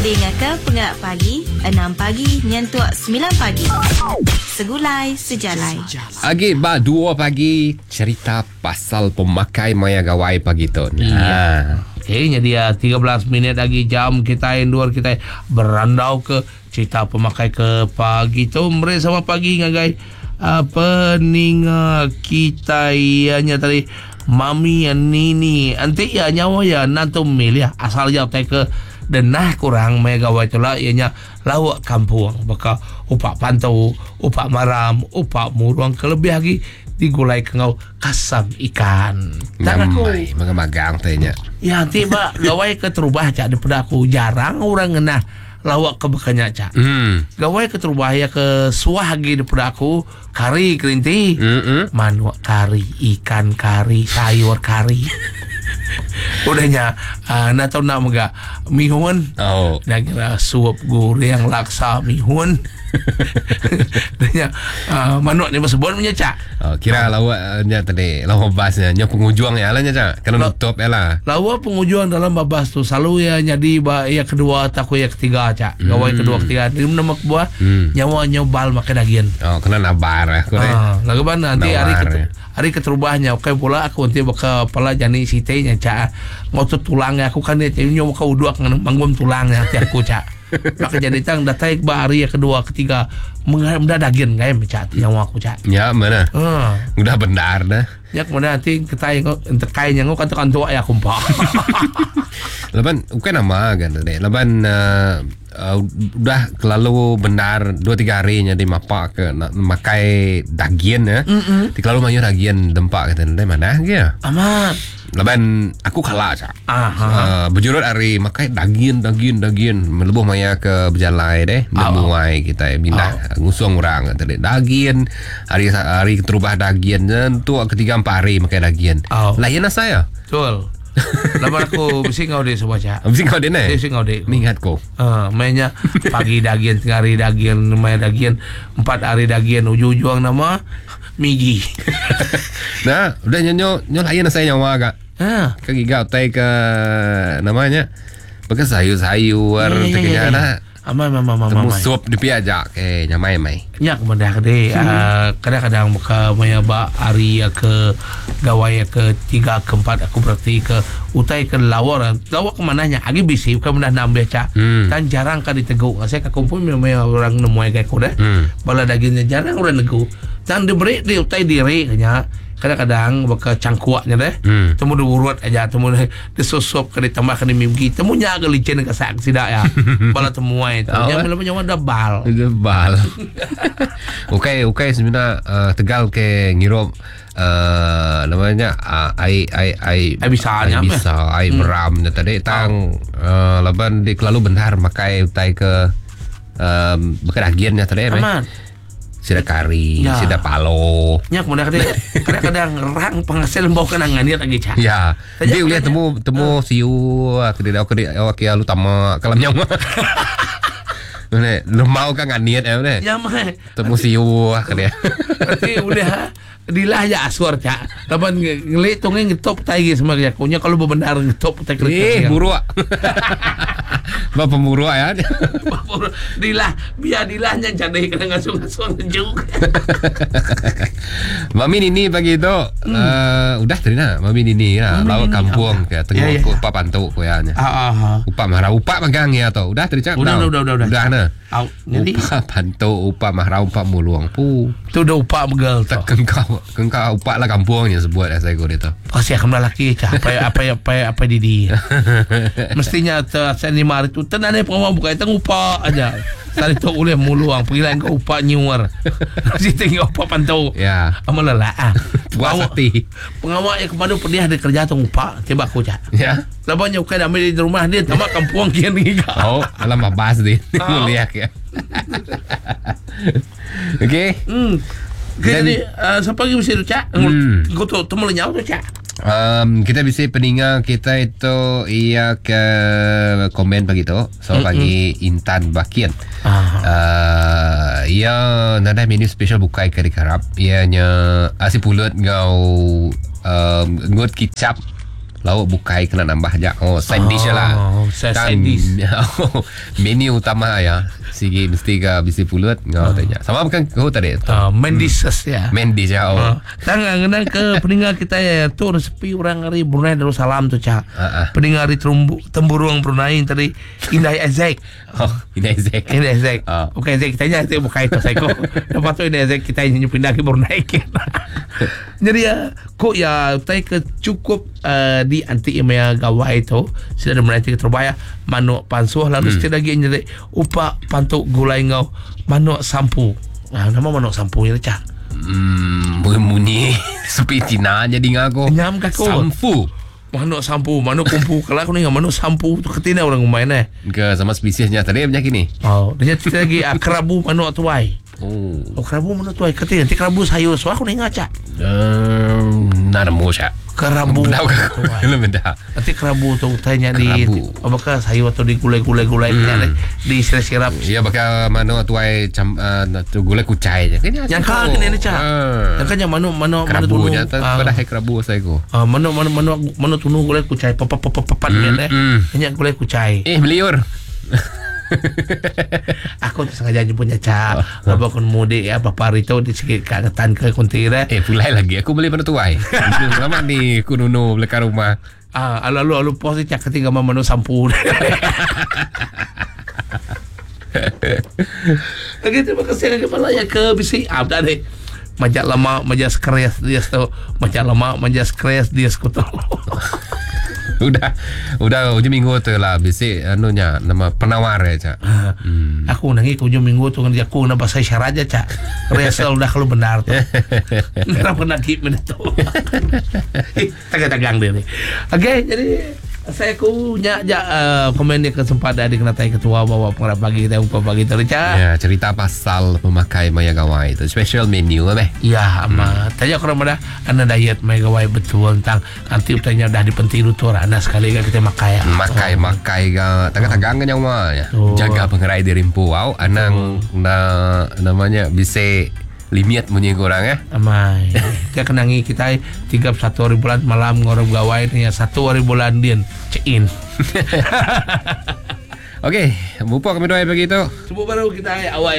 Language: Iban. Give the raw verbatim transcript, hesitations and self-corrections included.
Dingaka pengelak pagi enam pagi nyentuk semilan pagi. Segulai sejalai. Agi ba dua pagi cerita pasal pemakai maya gawai pagi tu. Nah. Okey, jadi tiga belas minit lagi jam kita endur kita berandau ke cerita pemakai ke pagi tu. Meri sama pagi ngagai uh, peninga kita ianya tadi Mami Nini. Nanti ya nyawa ya nanti milih asal ya tai ke denah kurang maya gawai tu lah ianya lawak kampung baka upak pantu, upak maram, upak murung kelebih lagi digulai ke ngau kasam ikan. Tak aku magang-magang tanya. Ya nanti ba gawai ke terubah cak daripada aku jarang orang ngenah lawak ke bekanya cak. Hmm. Gawai ke terubah ya ke suah lagi daripada aku kari kerinti. Mm-mm. Manuk kari, ikan kari, sayur kari. Udahnya uh, nak tahu nak mega mihun. Oh. Nak kira suap goreng laksa mihun. Udahnya uh, manuk ni bersebut punya cak. Oh, kira lawak nya tadi lawak basnya nya pengujuang ya lah nya cak. Kena nutup ya lah. Lawak pengujuang dalam babas tu selalu ya jadi ba ya kedua atau ya ketiga cak. Gawai hmm. kedua ketiga. Dia nama buah hmm. nyawa nyobal makan daging. Oh, kena nabar ya. Ah, lagu mana nanti hari ketu, hari keterubahnya okey pula aku nanti bakal pala jani site nya cak. Ngotot tulangnya aku kan dia nyawa kau dua kena manggum tulangnya nanti aku cak. Maka jadi tang datai ba hari yang kedua ketiga mengenai daging kayak cak nyawa aku cak. Ya mana? Uh. Udah benar dah. Ya kemudian nanti kita yang terkait yang kan tekan tua ya kumpa. Laban bukan nama kan tadi. Laban uh, uh, udah kelalu benar dua tiga hari nya di mapak ke nak makai daging ya. Mm-mm. Di kelalu banyak daging dempak kata dari mana ke? Amat. Laban aku kalah cak. Aha. Uh, berjurut hari makai daging daging daging melebuh maya ke berjalai deh nemuai kita bindah oh. Ngusung orang tadi daging hari hari terubah daging tentu ketiga empat hari makai daging. Oh. Lain lah saya. Betul. Laban aku mesti ngau dek semua cak. Mesti ngau dek ne? Mesti ngau dek. Mingat ko. Uh, mainnya pagi daging, tengah hari daging, main daging, empat hari daging, ujung-ujung nama migi. Nah, udah nyo nyo lain saya nyawa kak. Ha. Ke gigau tai ke namanya. Pakai sayur-sayur Ya, ya, terkena ya, ya. nah. Amai mama mama Temu mama. sup di piajak eh nyamai mai. Nyak mendah deh. Uh, kadang-kadang buka maya ba hari ke gawai ke tiga ke empat aku berarti ke utai ke lawar. Lawar ke mananya agi bisi bukan mendah nambah cak. Hmm. Dan jarang kan diteguk. Saya ke kumpul maya orang nemuai kayak aku dah. Hmm. Bala dagingnya jarang orang negu. Dan diberi di utai diri kenya. Kadang-kadang bakal cangkuaknya deh. Hmm. Temu diurut aja, temu disusup ke ditambahkan di mimpi. Temunya agak licin ke sak sidak ya. Bala temuai tu. Oh, Yang bila nyawa dah bal. Bal. Okey, okey sebenarnya uh, Tegal ke ngirup uh, namanya uh, ai ai ai Ai bisa ai nya apa? bisa ai hmm. beram nya tadi tang uh, laban di kelalu benar makai utai ke um, bekas dagingnya tadi eh. Aman. Sida kari, Ya. sida palo. Nya kemudian kadang-kadang rang penghasil bau kena nganir lagi cak. Ya. Saja Dia boleh maknanya. temu temu siu ke dia ke dia ke lu tama kalam nyawa. Ne, lemau kan nganiat eh ne. Ya mah. Temu siu ke dia. Berarti udah dilah ya aswar cak. Laban ngelit tu ngetop tai semua ya. Kunya kalau benar ngetop tai Eh, buruk. Ba pemuruk ya. Dilah biar dilahnya jadi kena ngasung-ngasung juga. Mami Nini pagi tu hmm. uh, udah tadi nak Mami Nini lah Mami lawak Nini, kampung ke tengok Ya, ya. ke upak pantuk ko ya nya. Ah ah. ah. Upak marah upak magang ya tu. Udah tadi cak. Udah, udah, udah, udah. Udah nah. Au, jadi Upak pantuk, upak marah, upak muluang. Pu. tu dah upak begal tu. Tak kengkau kengkau upak lah kampungnya sebut lah saya tu. Kasih aku lelaki cak. Apa apa apa apa didi. Mestinya ter lima hari tu tenang ni pengawal buka itu upak aja. Tadi tu boleh muluang pergi ke upak nyuar. Mesti tengok upak pantau. Ya. Amal lelah ah. Puas hati. Pengawal yang kepadu pedih ada kerja tu upak tiba aku cak. Ya. Labannya bukan ambil di rumah dia tamak kampung kian ni. Oh, alam babas dia. Oh. Lihat ya. Okey. Hmm. Okay, Dan- jadi uh, siapa lagi mesti tu cak? Hmm. Kau tu temu lenyau tu cak. Um, kita bisa peninga kita itu ia ke komen pagi tu. So pagi Intan Bakian. Ah. Uh, ia nada menu special bukai ke dikarap. Ianya asi pulut ngau um, ngut kicap. Lauk bukai kena nambah aja. Oh, side dish lah. Oh, side Tang- dish. Menu utama ya. Sigi mesti ke bisi pulut ngau tanya. Sama bukan kau tadi. Uh, main dishes ya. Main dish ya. Oh. Uh, tang ngena ke peninggal kita ya tu resepi orang hari Brunei Darussalam tu cak. Ah, ah. Peninggal hari Terumbu, Temburung Brunei tadi Indah Ezek. Oh, ini Isaac. Indah Ezek. Ah. Bukan Ezek kita nya itu bukan itu saya kok. Lepas tu Indah Ezek kita ini pindah ke Brunei. Jadi ya kok ya tai ke cukup uh, di anti imaya gawai tu sudah ada menanti ke terbaya manuk pansuh lalu hmm. lagi jadi upak pantuk gulai ngau manuk sampu. Ah, nama manuk sampu ya cak. Hmm, bunyi sepi Cina jadi ngaku. Nyam ke aku? Samfu. Manuk sampu, manuk kumpu. Kalau aku ni manuk sampu tu ketina orang main eh. Ke sama spesiesnya tadi punya kini. Oh, dia cerita lagi ah, kerabu manuk tuai. Oh. Oh, kerabu manuk tuai ketina nanti kerabu sayur. So aku ni ngacak. Um, nak nemu syak. Kerabu Benda manuk ke? tuai. Belum benda. Nanti kerabu tu tanya di Kerabu. apakah sayur atau digulai-gulai-gulai hmm. di sirap-sirap. Ya bakal mana tuai cam uh, tu gulai kucai je. Kena Yang kau kena ni cak. Yang kan yang manuk manuk manuk Kerabu tunu. nya tu Ah. pada hai kerabu saya ko. Ah, manuk manuk manuk manuk tunu gulai kucai pap pap pap pap Hmm, eh. hmm. Banyak gulai kucai. Eh meliur. Aku sengaja jemput Caca. Bapa kun mudik ya bapa hari tu di sikit kat ketan ke kunti dah. Eh pulai lagi aku beli pada tuai. Lama ni aku nunu belakang rumah. Ah, alu alu alu pos ni cakap ketiga menu sampu. Okey, terima kasih kepada kepala ya ke bisi. Ah, dah deh. Majak lama, majak stres dia tu. Majak lama, majak stres dia tu. Udah udah hujung minggu tu lah bisi anunya nama penawar ya cak. Hmm. Aku nangi ke ujung minggu tu kan aku nak bahasa isyarat aja cak. Rehearsal udah kalau benar tu. Kenapa nak keep benda tu? Eh, Tagang-tagang dia ni. Okey, jadi saya ku nyak jak uh, komen dia kesempatan di kena tanya ketua bawa pengarah pagi kita umpa pagi tu cak. Ya, cerita pasal pemakai maya gawai itu special menu lah meh. Ya, ama. Hmm. Tanya korang pada anda diet megawai betul tentang nanti utanya dah dipenting tu anda sekali kan kita makai. ya. Makai makai ga tagang-tagang kan nyawa ya. Oh. Jaga pengerai diri empu au anang na namanya bisa limit bunyi korang ya. Amai. Dia kenangi kita tiga puluh satu hari bulan malam ngorong gawai ni satu hari bulan din check in. Okey, bupok kami doa pagi tu. Sebut baru kita awal